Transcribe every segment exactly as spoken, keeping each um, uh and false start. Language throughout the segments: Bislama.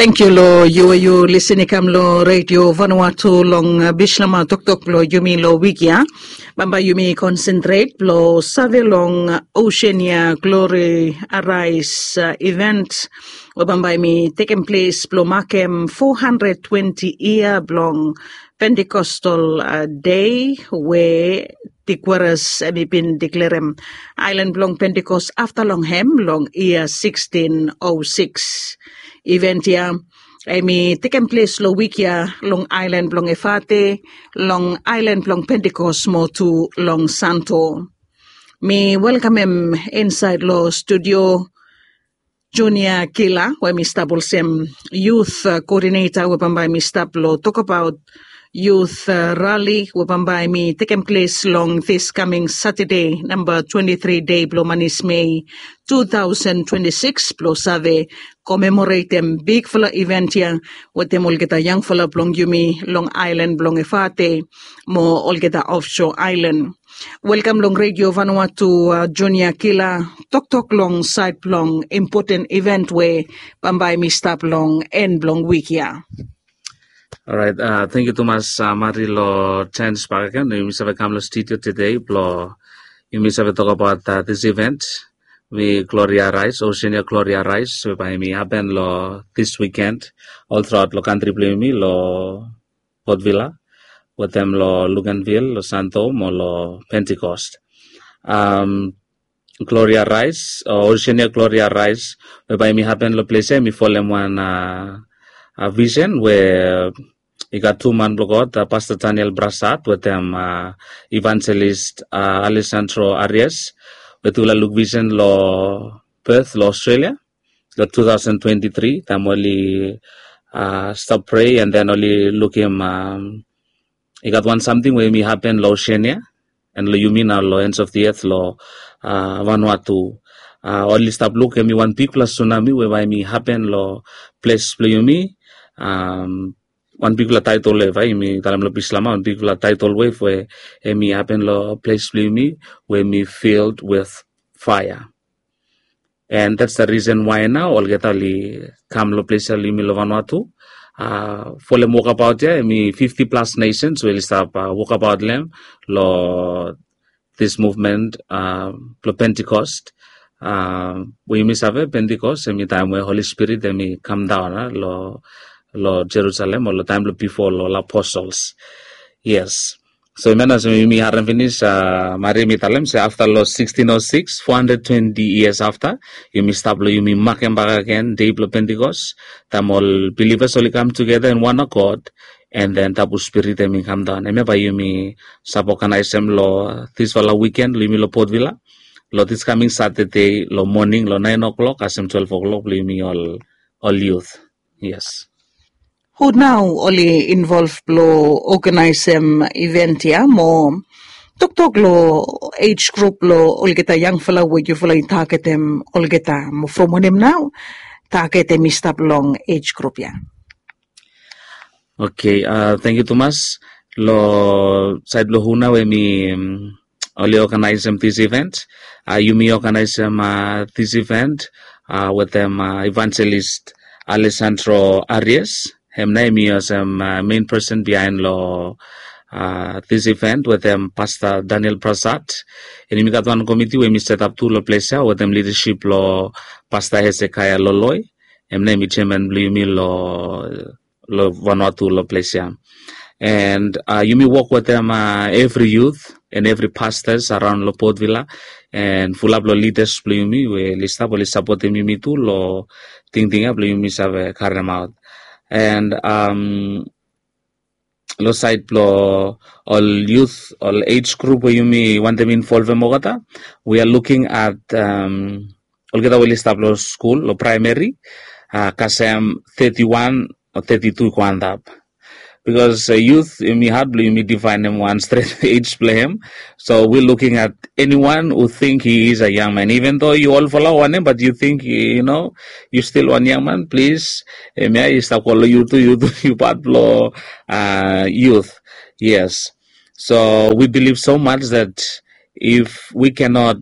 Tangkiu long yu we yu lisin i kam long Redio Vanuatu long bislama toktok blong yumi long wik ya. Bambae yumi konsentret blong save long Oceania Glory Arise event we bambae mi tekem ples blong makem four hundred twenty yia blong Pentecostal Day we Tigueres em i bin deklerem aelan blong Pentekost afta long hem long yia sixteen oh six. Event ya em i tekem ples long wik ya long aelan blong Efate, long aelan blong Pentekost mo tu long Santo. Mi welkamem insaed long studio Junior Kila we mi stap olsem youth koodineta we bambae mi stap long tokbaot youth rali we bambae mi tekem ples long dis kaming Satade namba twenty three dei blong manis Mei two thousand twenty six blong save komemoretem bigfala event ya wetem olgeta yangfala blong yumi long aelan blong Efate mo olgeta ofshoa aelan. Welkam long Redio Vanuatu Junior Kila. Toktok long saed blong impoten event we bambae mi stap long en blong wik ya. Orait, tangkiu tumas Mari long janis bakegen yumi save kam long studio tede blong yumi save tokbaot dis event we Gloria Rise, Oceania Gloria Rise we bae mi hapen long dis wiken oltraot long kantri blong yumi long Port Vila wetem long Luganville, long Santo mo long Pentekost. Gloria Rise o Oceania Gloria Rise we bae mi hapen long ples ya mi folem wan visen we i gat tu man blong God, Pasta Daniel Brasat wetem Evangelist Alessandro Arias we tufala luk visen long Perth long Australia long two thousand twenty three taem oli stap prea and then oli lukim i gat wan samting we yumi hapen long Oceania and long yumi nao long ends of the earth long Vanuatu. Oli stap luk em i wan bigfala sunami we bae mi hapen long ples blong yumi. Wan bigfala taetol we bae yumi talem long bislama wan bigfala taetol wef we em i hapen long ples blong yumi we em i filled with fire. And that's the reason why nao olgeta oli kam long ples ya long yumi long Vanuatu. Folem wokabaot ya em i fifty plus nations we oli stap wokabaot long em long this movement blong Pentecost. We yumi save Pentecost em i taem we Holy Spirit em i kamdaon long Jerusalem o long taem blong bifo long ol apostles. Yes. So hemia nao olsem yumi harem finis Mari mi talem se afta long sixteen oh six, four hundred twenty years afta, yumi stap long yumi makem bakegen dei blong Pentecost taem ol bilivas oli kam tugeta in wan akot and then tabu spirit em i kamdaon. Hemia bae yumi save oganaesem long disfala wiken long yumi long Port Vila long dis kaming Satade long moning long naen o'clock kasem twelve o'clock blong yumi ol ol youth. Yes. Hu nao oli involv blong oganaesem event ya mo toktok long age group blong olgeta yangfala we yufala i tagetem olgeta mo from wanem nao taget em i stap long age group ya. Okay, tangkiu tumas. Long saed blong hu nao we mi oli oganaesem this event. Yumi oganaesem this event wetem Evangelist Alessandro Arias. Hem nao em i olsem main person bihaen long this event wetem Pasta Daniel Prasad. And yumi gat wan komiti we yumi setap tu long ples ya wetem lidasip blong Pasta Hezekiah Loloi. Hem nao em i jeaman blong yumi long long Vanuatu long ples ya. And yumi wok wetem evri youth and evri pastors araon long Port Vila and fulap long lidas blong yumi we oli stap oli sapotem yumi tu long tingting ya blong yumi save karemaot. And long saed blong ol youth, ol age group we yumi wantem involvem olgeta, we are looking at olgeta we oli stap long skul, long praemeri, kasem thirty-one o thirty-two i go antap. Bikos youth yumi had blong yumi difaenem wan stret age blong hem. So we looking at anyone who think he is a young man, even though yu olfala wanem, but yu think you know yu stil wan young man, plis, hemia yu stap go long yu tu, yu tu yu pat blong youth. Yes. So we believe so much that if we cannot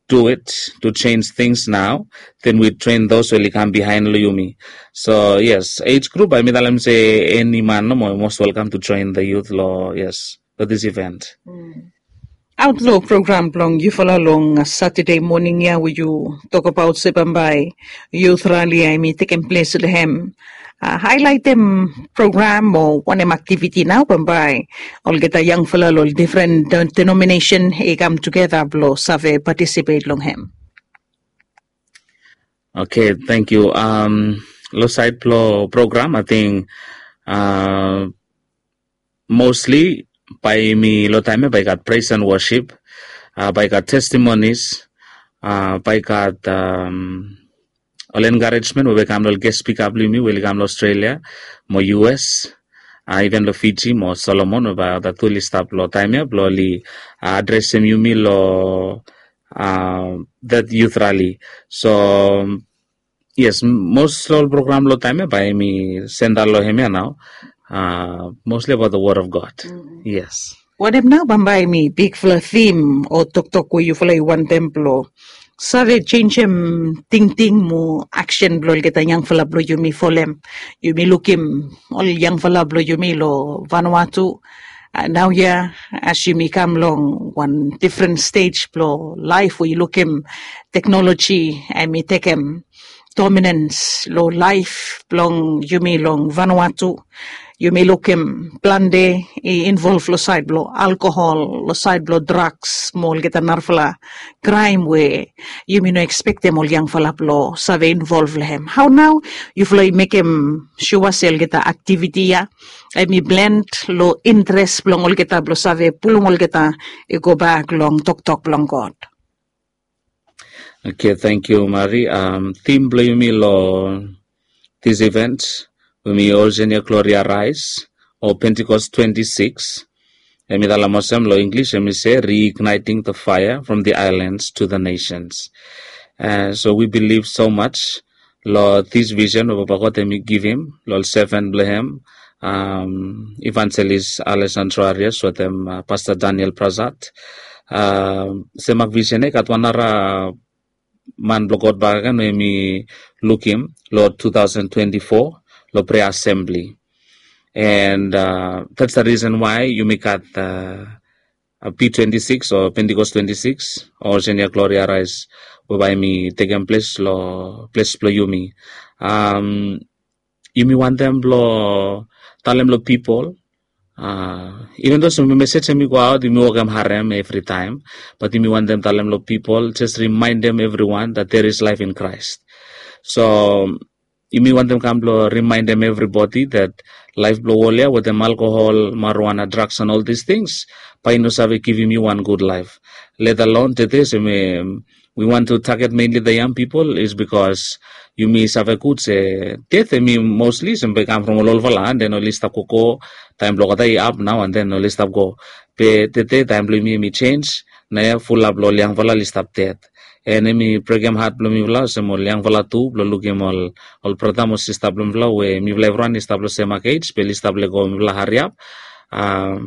do it to change things now, then we train those we oli kam behind lo yumi. So yes, age group, bae mi talem se eni man nomo most welcome to join the youth lo, yes, lo this event. Aot lo program blong yufala long Saturday morning ia we yu tokbaot se bambae youth rally ia hemi tekem ples lo hem. Haelaetem program o wanem aktiviti nao bambae olgeta yangfala lo ol difren denominesen i kam tugeta blo save patisipet long hem. Okay, thank you. Lo saed blo program, ating mostly bae mi lo taem ia bae i gat praise and worship, bae i gat testimonies, bae i gat ol encouragement we bae i kam lo ol guest speaker blo yumi we oli kam lo Australia mo U S, even lo Fiji mo Solomon we bae olgeta tu oli stap lo taem ia blo oli adresem yumi lo that youth rally. So yes, most lo ol program lo taem ia bae mi senta lo hem ia nao, mostly about the word of God. Yes. Wanem nao bambae hemi bigfala thim o toktok we yufala i wantem blo save jenisim tingting mo aksen blo olgeta yangfala blo yumi folem? Yumi lukim ol yangfala blo yumi lo Vanuatu naoia, as yumi kam long wan difren stej blo laef we yu lukim teknoloji hemi tekem dominans lo laef blong yumi long Vanuatu. Yumi lukim plante i involv lo saed blo alkohol, lo saed blo draks mo olgeta narafala kraem we yumi no ekspektem ol yangfala blo save involv lo hem. Hao nao yufala i mekem sua se olgeta aktiviti ia hemi blend lo interes blong olgeta blo save pulum olgeta i gobak long toktok blong God? Okay, thank you, Mari. Thim blo yumi lo this event we hemi Origenia Gloria Rise o Pentecost twenty six. Hemi talem olsem lo English, hemi se reigniting the fire from the islands to the nations. So we believe so much lo this vision we Papa God hemi givim lo ol seven blo hem, Evangelist Alessandro Arias wetem Pastor Daniel Prasad. Semak vision ia i gat wan nara man blo God bakegen we hemi lukim lo two thousand twenty-four lo prayer assembly. And that's the reason why yumi gat P twenty six o Pentecost twenty six o Origenia Gloria Rise we bae hemi tekem ples lo ples blo yumi. Yumi wantem blo talem lo pipol, even though some message hemi go aot, yumi wokem harem evritaem, bat yumi wantem talem lo pipol, just remaindem evriwan that there is life in Christ. So yumi wantem kam blo remaindem evribodi that laef blo wol ia wetem alkohol, marijuana, drugs and all these things bae i no save givim yu wan gud laef. Let alone tede se mi we want to target mainly the young people is because yumi save gud se ded hemi mostly se bae i kam from ol olfala, and then oli stap gogo. Taem blo olgeta i ap nao, and then oli stap go. Be tede taem blo yumi hemi jenis, naoia fulap lo ol yangfala oli stap ded. And hemi brekem hat blo mifala olsem ol yangfala tu blo lukim ol brata mo sista blo mifala we mifala evriwan i stap lo semak ej be oli stap lego mifala hariap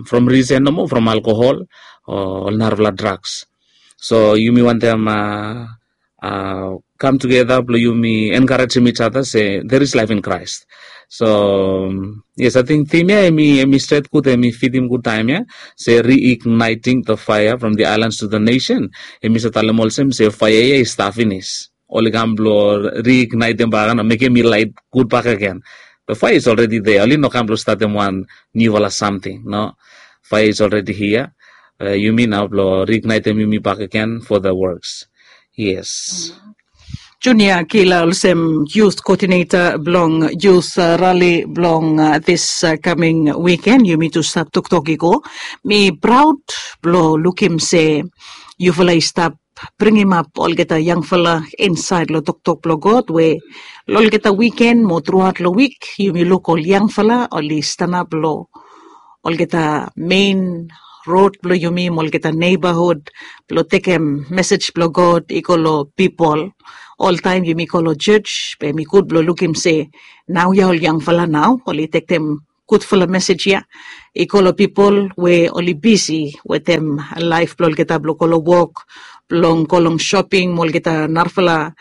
from risen nomo, from alkohol o ol narafala drugs. So yumi wantem kam tugeta blo yumi encouragem each other se there is life in Christ. So yes, I think thim ia hemi stret gud, hemi fitim gud taem ia, se reigniting the fire from the islands to the nation. Hemi save talem olsem se faea ia i stap finis, oli kam blo reignitem bakegen o mekem i laet gud bakegen. The fire is already there, oli no kam blo statem wan niufala samting, no. Fire is already here. Yumi nao blo reignitem yumi bakegen for the works. Yes. Junia Kila olsem youth coordinator blong youth rally blong this coming weekend, yumi tu stap toktok i go. Mi praod blo lukim se yufala i stap bringimap olgeta yangfala insaed lo toktok blo God we lo olgeta wiken mo truaot lo wik yumi luk ol yangfala oli stanap lo olgeta mein rod blo yumi mo olgeta neibahud blo tekem mesej blo God i go lo pipol. Oltaem yumi go lo jos be hemi gud blo lukim se naoia ol yangfala nao oli tekem gudfala mesej ia i go lo pipol we oli bisi wetem laef blo olgeta blo go lo wok, blong go long shoping mo olgeta narafala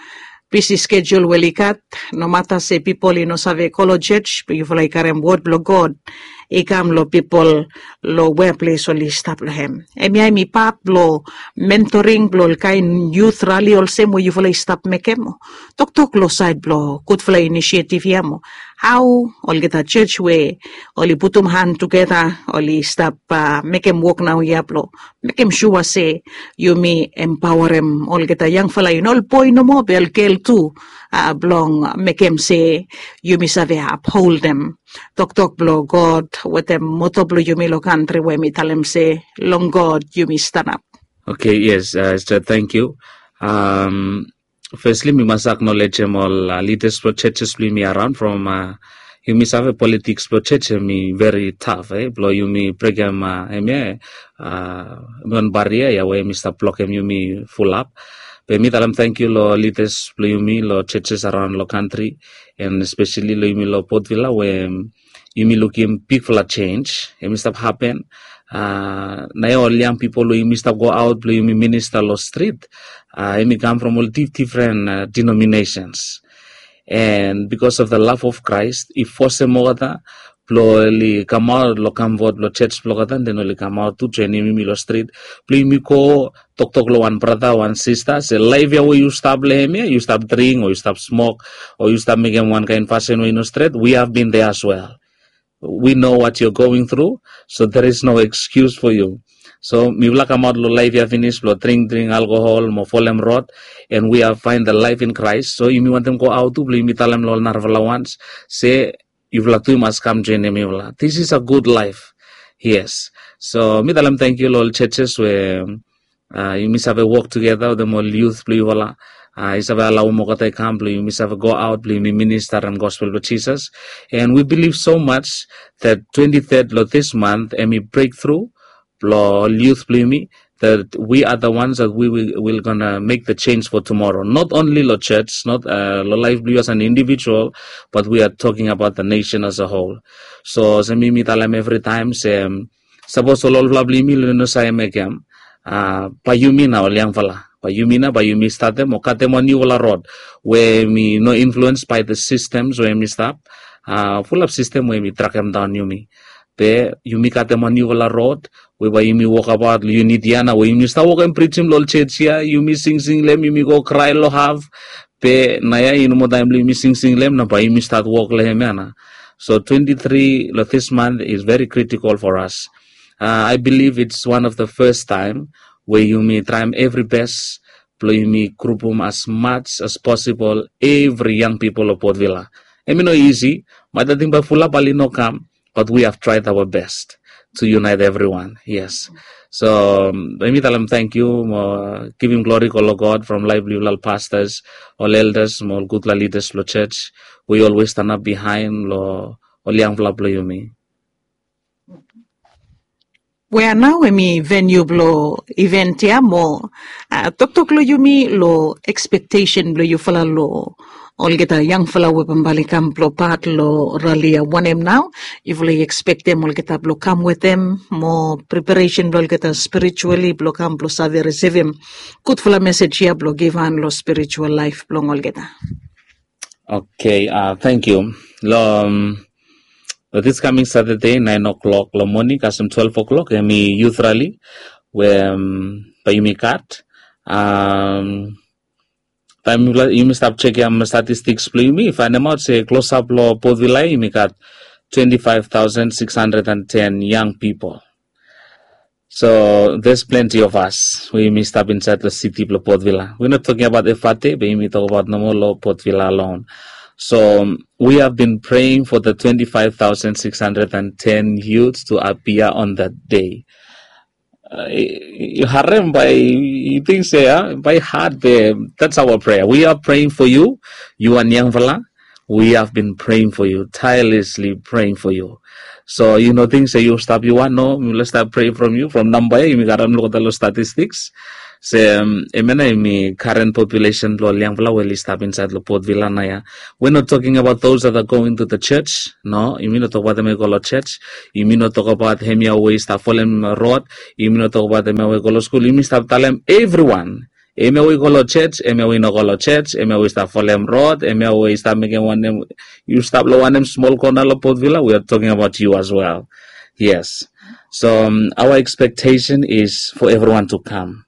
bisi skejul we oli gat. Nomata se pipol i no save go long church, yufala i karem wod blong God i kam long pipol long weples oli stap long hem. Hemia hem i pat blong mentoring blong ol kain youth rali olsem we yufala i stap mekem. Toktok long sait blong gudfala inisiativ ya mo hao olgeta church we oli putum han tugeta oli stap uh, mekem wok nao ya blong mekem sua se yumi empawarem olgeta yangfala i no ol boi nomo be ol gel tu uh, blong mekem se yumi save apholdem toktok blong God wetem moto blong yumi long kantri we mi talem se long God yumi stanap. Okay, yes, uh, Esther, thank you. Um, firstly, mi mas aknolejem ol uh, leaders blong churches blong yumi around from uh, yumi save politiks blong church em i very tough, eh? Blong yumi brekem uh, em ya, uh, wan baria ya we yumi stap blokem yumi fulap. Be mi talem thank you lo leaders blong yumi lo churches around lo country and especially lo yumi lo Port Vila we um, yumi lukim bigfala change em i stap happen. Uh, na ya ol young people we yumi stap go out blong yumi minister lo street uh, em i kam from ol dif different uh, denominations. And because of the love of Christ i fosem olgeta blong oli kamaot lo kam vot lo church blong olgeta, then oli kamaot tu joinim yumi lo street blong yumi go toktok lo wan brata wan sista se laif ya we yu stap long hem ya, yu stap dring o yu stap smok o yu stap mekem wan kain fasin we i no stret, we have been there as well. We know what you're going through, so there is no excuse for you. So mifala kamaot lo laif ya finis blong dring dring alkohol mo folem rod, and we have find the life in Christ. So yumi wantem go aot tu blong yumi talem lo ol narafala wans se yufala tu i mas kam joinim mifala. This is a good life. Yes. So mi talem thank you lo ol churches we uh, yumi save work together wetem ol youth blong yufala. Uh, i save alawem olgeta i kam blong yumi save go out blong yumi minister em gospel blong Jesus. And we believe so much that twenty-third lo this month em i breakthrough blong ol youth blong yumi that we are the ones that we will, will gonna make the change for tomorrow. Not only lo church, not uh, lo life blong you as an individual, but we are talking about the nation as a whole. So se mi mi talem every time se um, sapos ol olfala blong yumi oli no save mekem uh, bae yumi na ol yangfala, bae yumi na bae yumi statem o katem wan niufala rod we mi no influence by the systems we mi stap uh, fulap system we mi trakem daon yumi. Be yumi katem wan niufala rod we bae yumi wokabaot lo yunit ya na we yumi stap wokem prijim lo ol church ya, yumi singsing lo hem, yumi go krae lo haf. Be na ya i no moa taem blong yumi singsing lo hem na bae yumi stat wok lo hem ya na. So twenty-three lo this month is very critical for us. Uh, I believe it's one of the first time we yumi traem every best blong yumi grupum as much as possible every young people of Port Vila. Em i no easy, maet ating bae fulap oli no kam, but we have tried our best to unite everyone. Yes. So um, mi talem thank you mo givim glory go lo God from laif blong yufala pastors, ol elders mo ol gudfala leaders lo church we always stand up behind lo ol yangfala blong yumi. Wea nao em i venue blong event ya mo uh, toktok lo yumi lo expectation blong yufala lo olgeta yangfala we bambae oli kam blong pat lo rali ya, wanem nao yufala i expectem olgeta blong kam wetem mo preparation blong olgeta spiritually blong kam blong save risivim gudfala message ya blong givhan lo spiritual life blong olgeta. Okay, uh, thank you. Lo um, this coming Saturday, nine o'clock lo moning kasem twelve o'clock em i youth rally we um, bae yumi gat. Um, taem yumi stap jekem statistics blong yumi, faenemaot se klosap lo Port Vila yumi gat twenty-five thousand six hundred and ten young people. So there's plenty of us we yumi stap insaed lo city blong Port Vila. We're not talking about Efate, be yumi tokbaot nomo lo Port Vila alone. So we have been praying for the twenty-five thousand six hundred and ten youths to appear on that day. Uh, yu harem bae yu ting se uh, bae hard be that's our prayer. We are praying for you. You are yangfala. We have been praying for you, tirelessly praying for you. So yu no ting se yu stap yu wan, no, mi stap pray from you from namba ya yumi karem lo statistics. Se um, em ya na em i current population blong ol yangfala we oli stap insaed lo Port Vila na ya. We're not talking about those that are going to the church. No, yumi no tokbaot hemia we i go lo church. Yumi no tokbaot hemia we i stap folem rod. Yumi no tokbaot hemia we i go lo skul. Yumi stap talem everyone Hemia we i go long church, hemia we i no go long church, hemia we i stap folem rod, hemia we i stap mekem wanem, yu stap long wanem smol kona long Port Vila, we are talking about you as well. Yes. So um, our expectation is for everyone to come.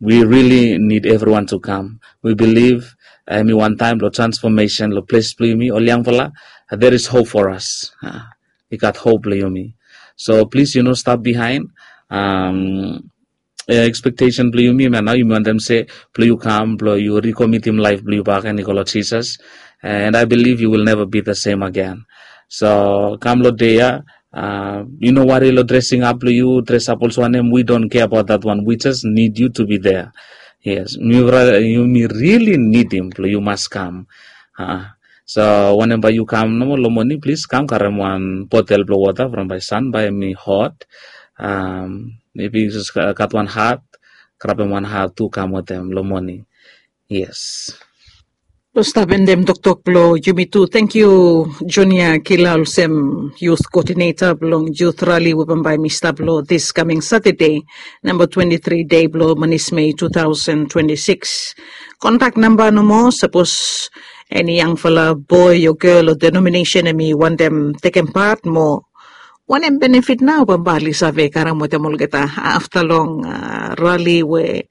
We really need everyone to come. We believe hemi wantaem long transformation long ples blong yumi ol yangfala. There is hope for us. Ah, i gat hope blong yumi. So plis yu no stap bihaen. Um, expectation blong yumi hemia nao, yumi wantem se blong yu kam blong yu rikomitim laef blong yu bakegen i go long Jisas. And I believe you will never be the same again. So kam long dei ya, uh, yu no wari long dressing up blong yu, dress up olsem wanem, we don't care about that one. We just need you to be there. Yes, yumi really nidim blong yu mas kam. Uh, so wanem bae yu kam nomo long moning, plis kam karem wan botel blong wota from bae san bae hemi hot. Um, maybe yu jes gat wan hat, grabem wan hat tu kam wetem long moning. Yes. Blong stap endem toktok blong yumi tu. Tangkiu Junior Kila olsem youth coordinator blong youth rally we bambae hemi stap long this coming Saturday, namba twenty-three dei blong manis Mei two thousand twenty-six. Kontak namba nomo, sapos eni yangfala boe o gel o denominesen hemi wantem tekem pat mo wanem benefit nao bambae oli save karem wetem olgeta afta long uh, rali we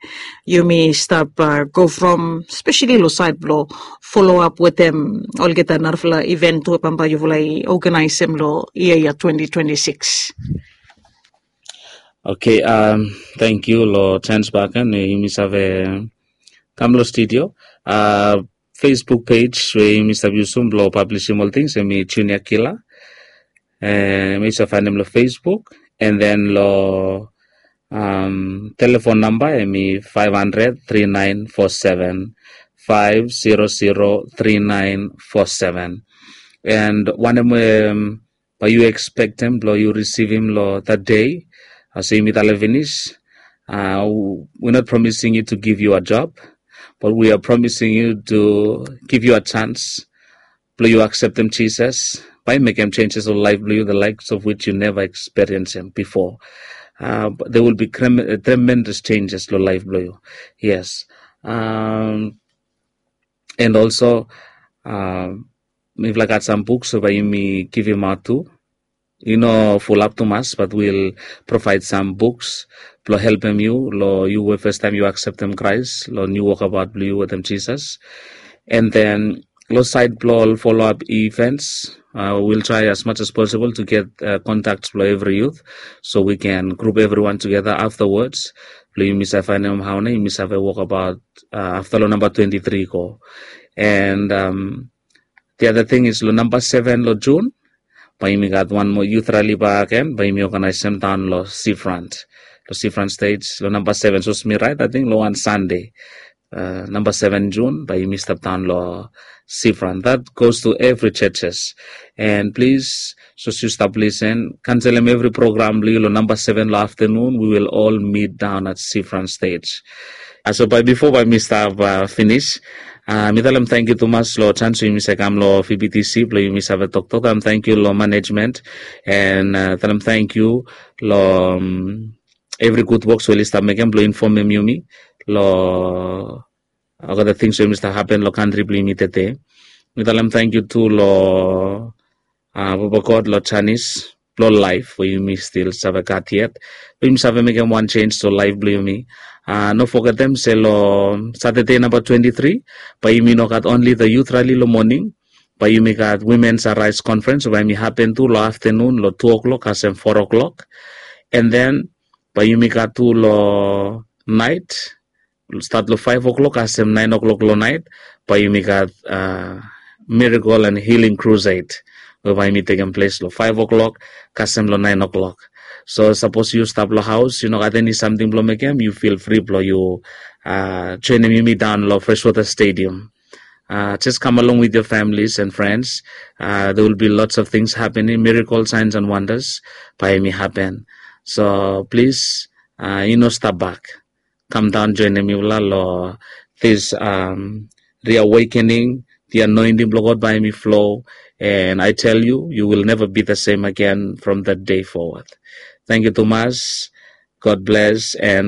yumi stap uh, go from, especially long saed blong follow up wetem olgeta narafala event we bambae yufala i organizem long yia ya twenty twenty-six. Okay, um, thank you long chance back and yumi save kam long studio. Uh, Facebook page we yumi stap yusum blong publishim ol tings hemi Junior Kila. Eh, yu save faenem long Facebook, and then long um, telephone number hemi five hundred three nine four seven, five zero zero three nine four seven. And wanem we um, bae yu expectem blong yu risivim long that day. Olsem mi talem finis, uh, we're not promising you to give you a job, but we are promising you to give you a chance blong yu akseptem Jisas, bae mekem changes long laef blong yu, the likes of which you never experienced him before. Uh, there will be tremendous changes long laef blong yu. Yes. Um, and also, um, mifala gat sam buks we bae yumi givimaot tu. I no fulap tumas, but we'll provide some books blong helpem yu long yu we fastaem yu akseptem Kraes long niu wokabaot blong yu wetem Jisas. And then long saed blong ol follow up events, uh, we'll try as much as possible to get uh, contacts blong evri youth, so we can group everyone together afterwards blong yumi save faenem hao nao yumi save wokabaot uh, afta long namba twenty-three go. And um, the other thing is long namba seven long June, bae yumi gat wan moa youth rally bakegen, bae yumi organizem daon long seafront. Long seafront stage long namba seven, sapos mi raet, I think long wan Sunday, uh, namba seven June, bae yumi stap daon long seafront. That goes to every churches. And plis, sapos yu stap lisen, kanselem evri program blong yu long namba seven long aftanun. We will all meet down at seafront stage. Uh, so bae bifo bae mi stap uh, finis, uh, mi talem tangkiu tumas long chance we yumi save kam long V B T C blong yumi save toktok. Talem tangkiu long management, and uh, talem tangkiu long um, evri gud woks we oli stap mekem blong infomem yumi long olgeta tings we yumi stap hapen long kantri blong yumi tede. Mi talem tangkiu tu long uh, Baba God long janis blong laef we yumi stil save gat yet, blong yumi save mekem wan jenis long laef blong yumi. Uh, no fogetem se long Saturday namba twenty-three, bae yumi no gat only the youth rally long moning, bae yumi gat Women's Arise Conference bae yumi hapen tu long aftanun long two o'clock kasem four o'clock. And then bae yumi gat tu long naet, stat long five o'clock kasem nine o'clock long naet, bae yumi gat uh, Miracle and Healing Crusade, we bae yumi tekem ples long five o'clock kasem long nine o'clock. So sapos yu stap long haos, yu no gat eni samting blong mekem, yu feel free blong yu uh, joenem yumi daon long Freshwater Stadium. Uh, just come along with your families and friends. Uh, there will be lots of things happening, miracle signs and wonders bae yumi hapen. So plis, uh, yu no stap bak. Kam daon joenem yufala long this um, reawakening, the anointing blong God bae hemi flow. And I tell you, you will never be the same again from that day forward. Tangkiu tumas. God bless and